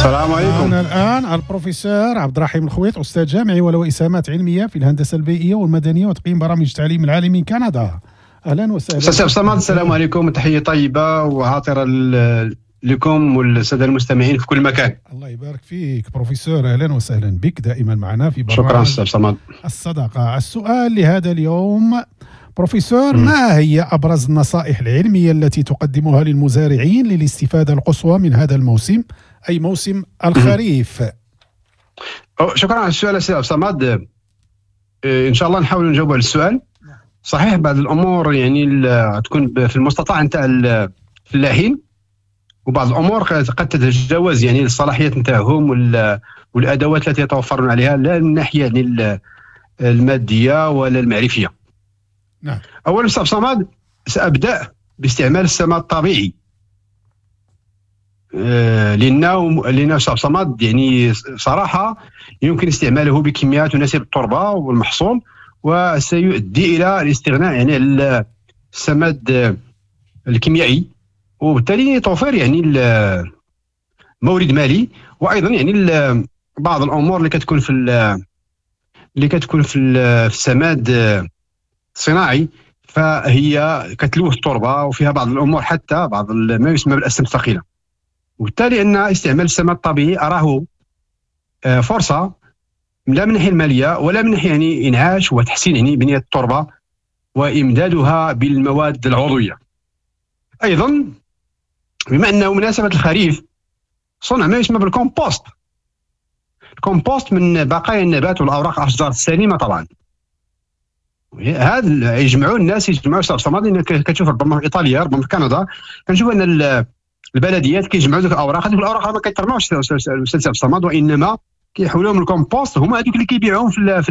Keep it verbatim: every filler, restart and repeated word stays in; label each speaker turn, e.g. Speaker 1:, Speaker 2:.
Speaker 1: السلام عليكم.
Speaker 2: معنا الآن البروفيسور عبد الرحيم الخويط، أستاذ جامعي وله إسهامات علمية في الهندسة البيئية والمدنية وتقييم برامج التعليم العالي من كندا. أهلا وسهلا.
Speaker 1: أستاذ عبد الصمد، السلام عليكم، تحية طيبة وعاطرة لكم والسادة المستمعين في كل مكان.
Speaker 2: الله يبارك فيك بروفيسور، أهلا وسهلا بك دائما معنا في برنامج
Speaker 1: شكرا أستاذ صمد.
Speaker 2: الصداقة. السؤال لهذا اليوم بروفيسور، ما هي أبرز النصائح العلمية التي تقدمها للمزارعين للاستفادة القصوى من هذا الموسم، أي موسم الخريف؟
Speaker 1: شكرا على السؤال أستاذ صمد. إن شاء الله نحاول نجاوب على السؤال. صحيح بعض الأمور يعني تكون في المستطاع نتاع الفلاحين، وبعض الأمور قد تتجاوز يعني الصلاحيات نتاعهم والأدوات التي يتوفرون عليها، لا من الناحية يعني المادية ولا المعرفية.
Speaker 2: نعم.
Speaker 1: أولا أستاذ صمد، سأبدأ باستعمال السماد الطبيعي، لأنه لأنه أستاذ صمد يعني صراحة يمكن استعماله بكميات تناسب التربة والمحصول، وسيؤدي إلى الاستغناء يعني السماد الكيميائي، وبالتالي توفير يعني مورد مالي، وأيضا يعني بعض الأمور اللي كتكون في اللي كتكون في السماد الصناعي فهي كتلوث التربة، وفيها بعض الامور حتى بعض ما يسمى بالاسم الثقيلة. وبالتالي ان استعمال السماد الطبيعي اراه فرصة، لا من الناحية المالية ولا من ناحية يعني انعاش وتحسين يعني بنيه التربة وامدادها بالمواد العضوية. ايضا بما انه مناسبة الخريف، صنع ما يسمى بال compost. ال compost من بقايا النبات والاوراق الاشجار السليمة طبعا. هذا يجمعوا الناس، يجمعوا أستاذ صمد، لان كتشوف ربما في ايطاليا ربما في كندا كنشوف ان البلديات كيجمعوا ذوك الاوراق، هذوك الاوراق ما كيترماوش استاذ صمد، وانما كيحولوهم للكومبوست، هما هذوك اللي كيبيعوهم في, في